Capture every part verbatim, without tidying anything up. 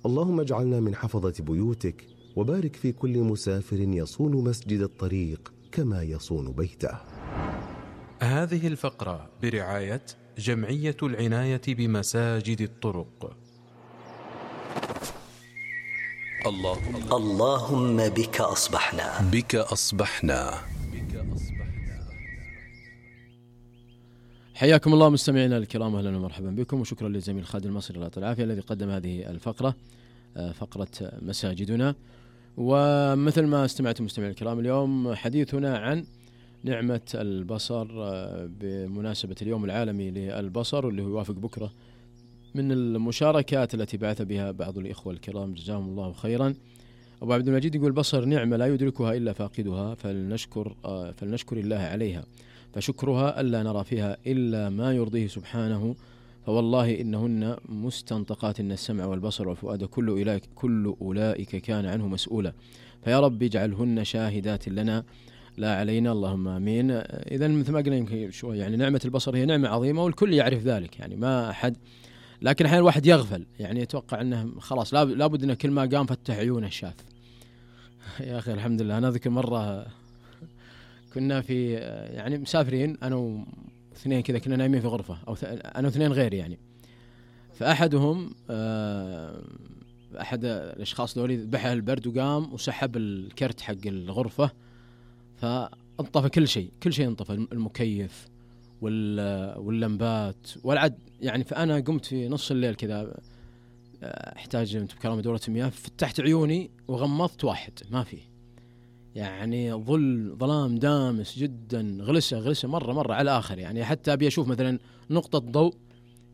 اللهم اجعلنا من حفظة بيوتك، وبارك في كل مسافر يصون مسجد الطريق كما يصون بيته. هذه الفقرة برعاية جمعية العناية بمساجد الطرق. اللهم اللهم بك أصبحنا بك أصبحنا. حياكم الله مستمعينا الكرام، أهلا ومرحبا بكم، وشكرا للزميل خالد المصري الله يعطيه العافية الذي قدم هذه الفقرة، فقرة مساجدنا. ومثل ما استمعتم مستمعينا الكرام، اليوم حديثنا عن نعمة البصر بمناسبة اليوم العالمي للبصر، واللي هو يوافق بكرة. من المشاركات التي بعث بها بعض الإخوة الكرام جزاهم الله خيرا، أبو عبد المجيد يقول: البصر نعمة لا يدركها إلا فاقدها، فلنشكر فلنشكر الله عليها، فشكرها ألا نرى فيها إلا ما يرضيه سبحانه، فوالله إنهن مستنطقات إن السمع والبصر والفؤاد كل أولئك, كل أولئك كان عنه مسؤولا، فيا رب اجعلهن شاهدات لنا لا علينا، اللهم آمين. إذا مثل ما قلنا يمكن شوي، يعني نعمة البصر هي نعمة عظيمة والكل يعرف ذلك، يعني ما أحد، لكن أحيانا الواحد يغفل، يعني يتوقع أنه خلاص لابد أنه كل ما قام فتح عيونه شاف. يا أخي الحمد لله، أنا أذكر مرة كنا في يعني مسافرين أنا واثنين كذا، كنا نايمين في غرفة، أو أنا واثنين غيري يعني، فأحدهم أحد الأشخاص دولي بحى البرد وقام وسحب الكرت حق الغرفة، فانطفى كل شيء كل شيء انطفى، المكيف واللمبات والعد يعني. فأنا قمت في نص الليل كذا احتاج انت بكرامة دورة مياه، فتحت عيوني وغمضت واحد ما فيه، يعني ظل ظلام دامس جدا، غلسة غلسة مرة مرة على الآخر، يعني حتى أبي أشوف مثلا نقطة ضوء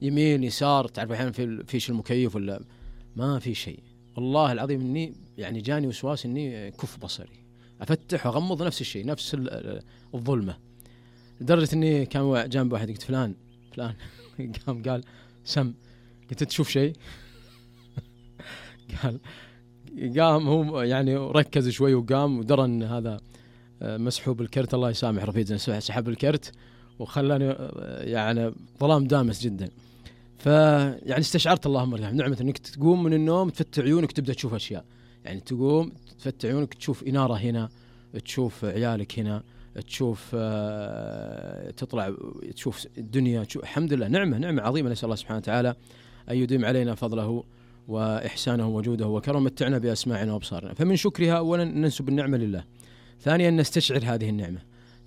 يمين يسار، تعرف أحيانا في فيش المكيف ولا ما في شيء. والله العظيم إني يعني جاني وسواس إني كف بصري، أفتح وأغمض نفس الشيء، نفس الظلمة، لدرجة إني كان جنب واحد قلت: فلان فلان قام قال: سم. قلت: تشوف شيء؟ قال قام هو يعني ركز شوي وقام ودرى ان هذا مسحوب الكرت، الله يسامح رفيقنا، سحب الكرت وخلاني يعني ظلام دامس جدا. فيعني استشعرت اللهم نعمة انك تقوم من النوم تفتح عيونك تبدأ تشوف اشياء، يعني تقوم تفتح عيونك تشوف إنارة هنا، تشوف عيالك هنا، تشوف تطلع تشوف الدنيا، تشوف. الحمد لله نعمة نعمة عظيمة، نسأل الله سبحانه وتعالى أن يديم علينا فضله وإحسانه وجوده وكرم، متعنا بأسماعنا وأبصارنا. فمن شكرها أولا ننسب النعمة لله، ثانيا نستشعر هذه النعمة،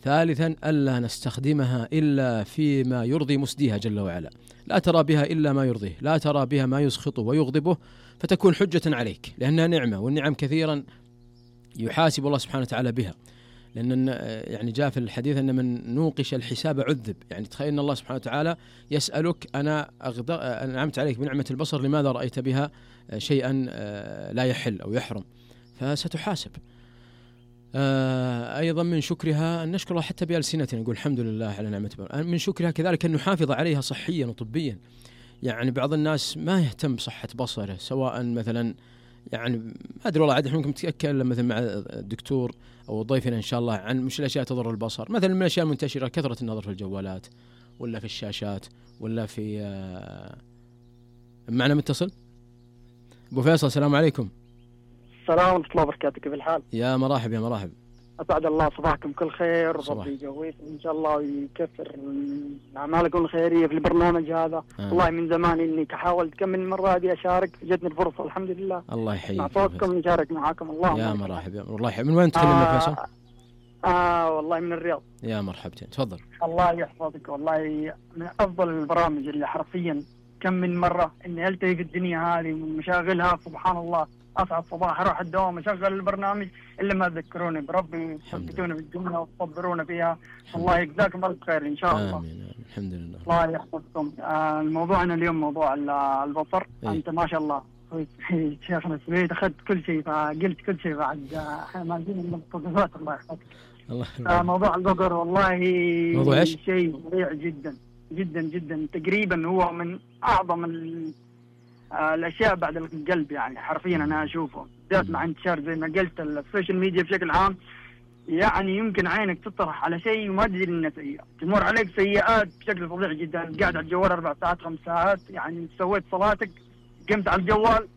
ثالثا ألا نستخدمها إلا فيما يرضي مسديها جل وعلا، لا ترى بها إلا ما يرضيه، لا ترى بها ما يسخطه ويغضبه، فتكون حجة عليك، لأنها نعمة، والنعم كثيرا يحاسب الله سبحانه وتعالى بها، لأن يعني جاء في الحديث أن من نوقش الحساب عذب، يعني تخيل أن الله سبحانه وتعالى يسألك: أنا أنعمت عليك بنعمة البصر، لماذا رأيت بها شيئا لا يحل أو يحرم؟ فستحاسب. أيضا من شكرها أن نشكر الله حتى بألسنتنا، نقول الحمد لله على نعمة البصر. من شكرها كذلك أن نحافظ عليها صحيا وطبيا، يعني بعض الناس ما يهتم بصحة بصره، سواء مثلا يعني ما أدري والله، عاد احنا ممكن نتكلم مثلا مع الدكتور أو ضيفنا إن شاء الله عن مش الأشياء تضر البصر، مثلا من الأشياء المنتشرة كثرة النظر في الجوالات ولا في الشاشات ولا في معنا متصل أبو فيصل. السلام عليكم. السلام ورحمة الله وبركاته، كيف الحال؟ يا مراحب يا مراحب، أسعد الله صباحكم كل خير، ربي يقويكم إن شاء الله ويكثر أعمالكم الخيرية في البرنامج هذا. آه. والله من زمان إني كحاول كم من مرة هذه أشارك، جتني الفرصة الحمد لله. الله يحييك، مع صوتكم نشارك معاكم. الله يا مراحب يا الله يحييك. من وين تكلمنا آه فيصل؟ آه والله من الرياض. يا مرحبتين، تفضل. الله يحفظك، والله من أفضل البرامج اللي حرفيا كم من مرة إني ألتهي في الدنيا هذه ومشاغلها، سبحان الله أصعد صباح أروح الدوام أشغل البرنامج إلا ما تذكروني بربي، تثبتوني بالجملة وتصبرونا فيها. الله يجزاكم ألف خير إن شاء الله. آمين. الحمد لله. الله يحفظكم. آه الموضوعنا اليوم موضوع البصر. إيه؟ أنت ما شاء الله شيخنا السويد أخذت كل شيء، فقلت كل شيء بعد ما جينا من التصرفات. الله يحفظك. الله آه موضوع البصر والله موضوع إيش؟ شيء سريع جدا جدا جدا، تقريبا هو من أعظم الأشياء بعد القلب، يعني حرفيا أنا أشوفه بالذات مع انتشار زي ما قلت السوشيال ميديا بشكل عام. يعني يمكن عينك تطرح على شيء وما تدري إنه سيء، تمر عليك سيئات بشكل فظيع جدا. قاعد على الجوال أربع ساعات خمس ساعات، يعني سويت صلاتك قمت على الجوال